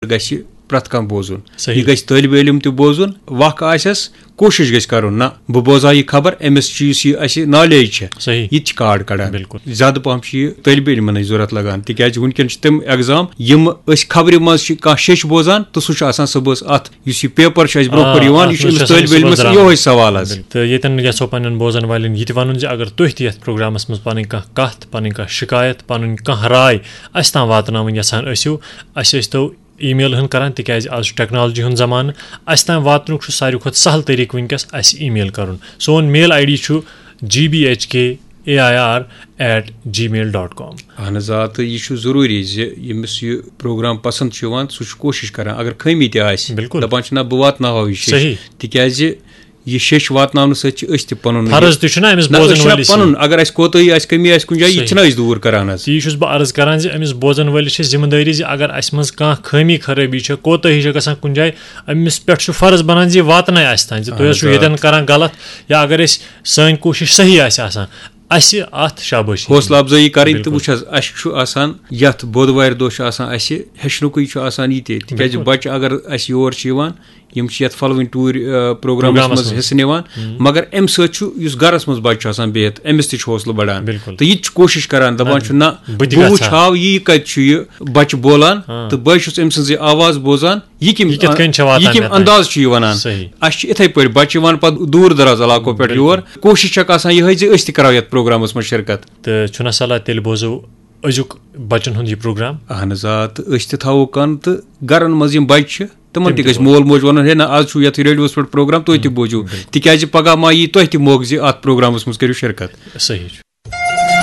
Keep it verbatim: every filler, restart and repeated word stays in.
گژھِ پرٛٮ۪تھ کانٛہہ بوزُن۔ صحیح۔ یہِ گژھِ طٲلبِ علم تہِ بوزُن، وق آسٮ۪س، کوٗشِش گژھِ کرُن، نہ بہٕ بوزٕ ہا یہِ خبر، أمِس چھُ یُس یہِ اَسہِ نالیج چھےٚ، صحیح۔ یہِ تہِ چھِ کارڈ کڑان۔ بِلکُل۔ زیادٕ پہم چھِ یہِ طٲلبِ علمَنٕے ضوٚرَتھ لگان، تِکیازِ وٕنکیٚن چھِ تِم ایگزام یِم أسۍ خبرِ منٛز چھِ کانٛہہ شیٚچھ بوزان تہٕ سُہ چھُ آسان صُبحَس اَتھ یُس یہِ پیپر چھُ اَسہِ برونٛہہ آ، کُن یِوان، اَتھ یہِ چھُ منٛز أمِس چھُ آسان طٲلبِ علمَس صُبحَس یِہوٚے سوال حظ۔ بِلکُل۔ تہٕ ییٚتٮ۪ن یَژھو پنٛنٮ۪ن بوزَن والٮ۪ن یہِ تہِ وَنُن زِ اگر تُہۍ تہِ یَتھ پروگرامَس منٛز پَنٕنۍ کانٛہہ کَتھ، پَنٕنۍ کانٛہہ شِکایت، پَنٕنۍ کانٛہہ راے اَسہِ تام واتناوٕنۍ یَژھان ٲسِو، اَسہِ ٲسۍتو ای میل ہٕن کَران، تِکیٛازِ آز چھُ ٹیکنالجی ہُنٛد زمانہٕ۔ اَسہِ تام واتنُک چھُ ساروی کھۄتہٕ سہل طریٖقہٕ وٕنکیٚس اَسہِ ای میل کَرُن۔ سون میل آی ڈی چھُ G B H K A I R at gmail dot com۔ اہن حظ آ، تہٕ یہِ چھُ ضروٗری زِ ییٚمِس یہِ پروگرام پسنٛد چھُ یِوان، سُہ چھُ کوٗشِش کران، اگر خٲمی تہِ آسہِ، بِلکُل۔ دَپان چھُ، نہ، بہٕ واتناوہو یہِ شیٚچھ۔ صحیح۔ تِکیازِ یہِ شیٚچھ واتناونہٕ سۭتۍ چھِ أسۍ تہِ پَنُن یہِ، فرض تہِ چھُنہ أمِس نہ، أسۍ بوزَن چھِنہ وٲلِس۔ پَنُن، اگر اَسہِ کوتٲہی آسہِ، کٔمی آسہِ کُنہِ جایہِ، یہِ تہِ صحیح۔ چھِنہ أسۍ دوٗر کران حظ۔ تی چھُس بہٕ عرض کران زِ أمِس بوزَن وٲلِس چھِ ذمہٕ دٲری زِ اگر اَسہِ منٛز کانٛہہ خٲمی خرٲبی چھےٚ، کوتٲہی چھےٚ گژھان کُنہِ جایہِ، أمِس پٮ۪ٹھ چھُ فرض بنان زِ یہِ واتناے اَسہِ تام، زِ تُہۍ اہن حظ چھِو حظ، آ۔ ییٚتٮ۪ن کران غلط، یا اگر أسۍ، سٲنۍ کوٗشِش صحیح آسہِ آسان، اَسہِ اَتھ شابٲشی۔ حوصلہٕ افزٲیی کرٕنۍ تہٕ بِلکُل۔ وٕچھ حظ، اَسہِ چھُ آسان یَتھ بۄدوارِ دۄہ چھُ آسان اَسہِ ہیٚچھنُکُے چھُ آسان یہِ تہِ، تِکیازِ بِلکُل۔ بَچہٕ اگر اَسہِ یور چھِ یِوان، یِم چھِ یَتھ پھلوٕنۍ ٹوٗرۍ، آ، پروگرامَس پروگرامَس منٛز منٛز۔ حِصہٕ نِوان، ہُم۔ مگر اَمہِ سۭتۍ چھُ یُس گَرَس منٛز بَچہٕ چھُ آسان بِہِتھ، أمِس تہِ چھُ حوصلہٕ بَڑان۔ بِلکُل۔ تہٕ یہِ تہِ چھُ کوٗشِش کَران، دَپان نہ، چھُ، نہ، بہٕ تہِ بہٕ گژھٕ وٕچھ ہا۔ ہاو یہِ کَتہِ چھُ یہِ بَچہٕ بولان، ہاں۔ تہٕ بہٕ چھُس أمۍ سٕنٛز یہِ آواز بوزان، یہِ کِم، یہِ کِتھ کٔنۍ چھِ واتان یہِ کِم مےٚ تام؟ انداز چھُ یہِ وَنان۔ صحیح۔ اَسہِ چھِ یِتھَے پٲٹھۍ بَچہٕ یِوان پَتہٕ دوٗر دَراز علاقو پٮ۪ٹھ بِلکُل۔ یور۔ کوٗشِش چھَکھ آسان یِہوٚے زِ أسۍ تہِ کَرو یَتھ پروگرامَس منٛز شِرکت۔ تہٕ چھُنہ صلاح تیٚلہِ بوزو أزیُک بَچَن ہُنٛد یہِ پروگرام؟ اہن حظ آ، تہٕ أسۍ تہِ تھاوو کَن تہٕ گَرَن منٛز یِم بَچہِ چھِ، تِمَن تِم تہِ تہِ گژھِ بوزو۔ مول موج وَنُن، ہے نہ، آز چھُو یَتھ ریڈیوَس پٮ۪ٹھ پروگرام، تُہۍ تہِ بوٗزِو۔ بِلکُل۔ تِکیٛازِ پَگاہ ما یی تۄہہِ تہِ موقعہٕ زِ اَتھ پروگرامَس منٛز کٔرِو شِرکت۔ صحیح چھُ۔